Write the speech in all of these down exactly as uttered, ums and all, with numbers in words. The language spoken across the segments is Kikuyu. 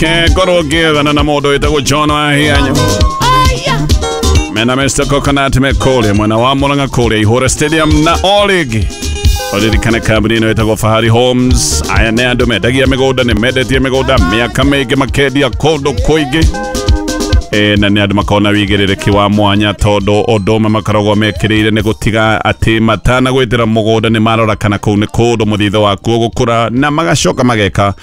Reke ngorwo ngĩethana na mũndũ wĩtagwo John Wahianya mena Mister Coconut me kũrĩa mwena wa Murang'a kũrĩa Ihũra Stadium na o rĩngĩ ũririkane kambuni ĩno ĩtagwo Fahari Homes. Aya nĩ andũ mendagia mĩgũnda, nĩ mendetie mĩgũnda mĩaka mĩingĩ, makendia kũndũ kũingĩ. E, na nĩ andũ makoragwo na wĩigĩrĩrĩki wa mwanya tondũ ũndũ ũmwe makoragwo mekĩrĩire nĩ gũtiga atĩ matanagwĩtĩra mũgũnda nĩ marora kana kũu nĩ kũndũ mũthithũ waku ũgũkũra, na magacoka mageka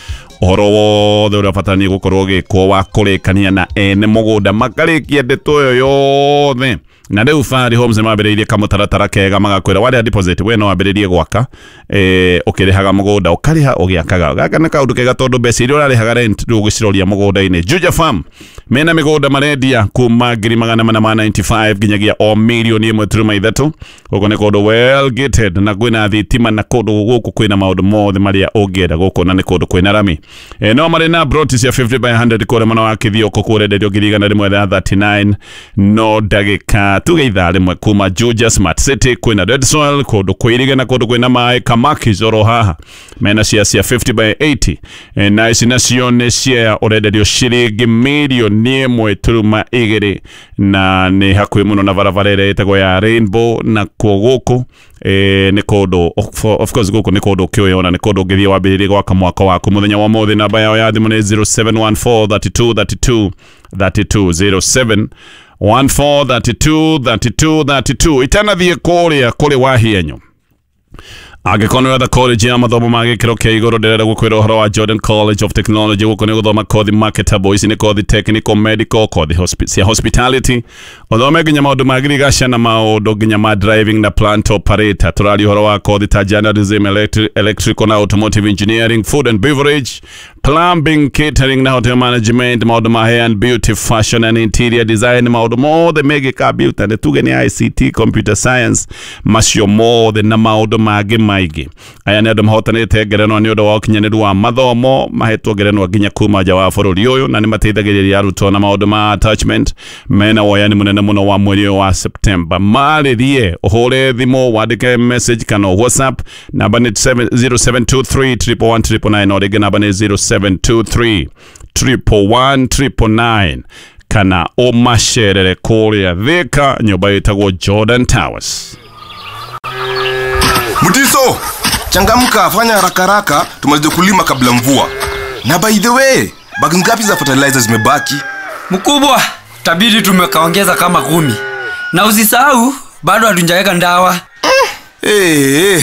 ũhoro wothe ũrĩa ũbataranĩtie gũkorwo ũgĩkwo wa kũrĩkania na ene mũgũnda, makarĩkia ndeto ĩyo yothe. Na rĩu Fahari Homes nĩ mambĩrĩirie kamũtaratara kega, magakwĩra warĩha deposit we no wambĩrĩrie gwaka, eh, ũkĩrĩhaga mũgũnda ũkarĩha ũgĩakaga. Gaka nĩ kaũndũ kega tondũ mbeca iria ũrarĩhaga rent rĩu ũgĩciroria mũgũnda-inĩ. Juja Farm mena mĩgũnda marendia kuma ngiri magana mana ma mĩrongo kenda na ithano nginyagia o mirioni ĩmwe turuma ithatũ. Gũkũ nĩ kũndũ well gated na kwĩna thitima na kũndũ gũkũ kwĩna maũndũ mothe marĩa ũngĩenda gũkũ, na nĩ kũndũ kwĩna rami. E, no marĩ na broti cia fifty by one hundred kũrĩa mwena wa Kĩthioko kũrenderio ngiri igana rĩmwe rĩa mĩrongo ĩtatũ na kenda no ndagĩka tuge ithaa rĩmwe kuma Juja Smart City. Kwĩna red soil, kũndũ kwĩirige na kũndũ kwĩna maĩ. Kamaki Zoro haha mena cia cia fifty by eighty, e, na ici nacio nĩ cia ũrenderio ciringi mirioni ĩmwe turuma igĩrĩ, na nĩ hakuhĩ mũno na barabara ĩrĩa ĩtagwo ya Rainbow. Na kuo gũkũ e, nĩ kũndũ of of course gũkũ nĩ kũndũ ũkĩũyona nĩ kũndũ ũngĩthiĩ wambĩrĩrie gwaka mwaka waku mũthenya wa mũthĩ. Namba yao ya thimũ nĩ zero seven one four thirty-two thirty-two thirty-two, zero seven one four thirty-two thirty-two thirty-two. Itanathiĩ kũrĩa kũrĩ Wahienyo, angĩkorwo nĩ ũretha college ya mathomo ma gĩkĩro kĩa igũrũ, ndĩrenda gũkwĩra ũhoro wa Jordan College of Technology. Gũkũ nĩ gũthoma kothi marketable. Ici nĩ kothi technical, medical, kothi hospi cia hospitality, ũthome nginya maũndũ ma ngirigaca na maũndũ nginya ma driving na plant operator. Tũraria ũhoro wa kothi ta journalism, electri electrical na automotive engineering, food and beverage, plumbing, catering na hotel management, maũndũ ma hair and beauty, fashion and interior design, maũndũ mothe megiĩ computer, nĩ tuge nĩ I C T, computer science, macio mothe na maũndũ mangĩ maingĩ. Aya nĩ andũ mahotanĩte ngerenwa nĩ ũndũ wa ũkinyanĩru wa mathomo, mahetwo ngerenwa nginya kuma nja wa bũrũri ũyũ, na nĩ mateithagĩrĩria arutwo na maũndũ ma attachment. Mena woyani mũnene mũno wa mweri ũyũ wa September. Marĩrie, ũhũre thimũ, wandĩke message kana WhatsApp, namba nĩ zero seven two three one one one nine nine, o rĩngĩ namba nĩ zero seven two three one one nine nine, kana ũmacerere kũrĩa Thĩka, nyũmba ĩtagwo Jordan Towers. Mutiso, changamka, fanya haraka haraka tumalize kulima kabla mvua. Na by the way, bag ngapi za fertilizer zimebaki? Mkubwa, tabidi tumekaongeza kama kumi. Na usisahau bado hatujaweka ndawa. Hey, hey,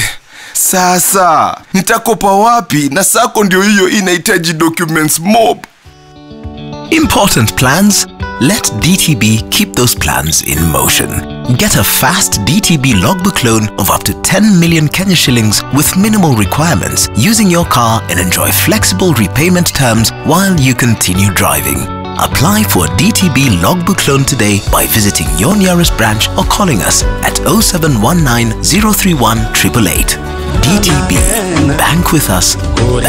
sasa nitakopa wapi na sacco ndio hiyo inahitaji documents mob? Important plans? Let D T B keep those plans in motion. Get a fast D T B logbook loan of up to ten million Kenya shillings with minimal requirements using your car and enjoy flexible repayment terms while you continue driving. Apply for a D T B logbook loan today by visiting your nearest branch or calling us at zero seven one nine zero three one eight eight eight. D T B. Bank with us. Bank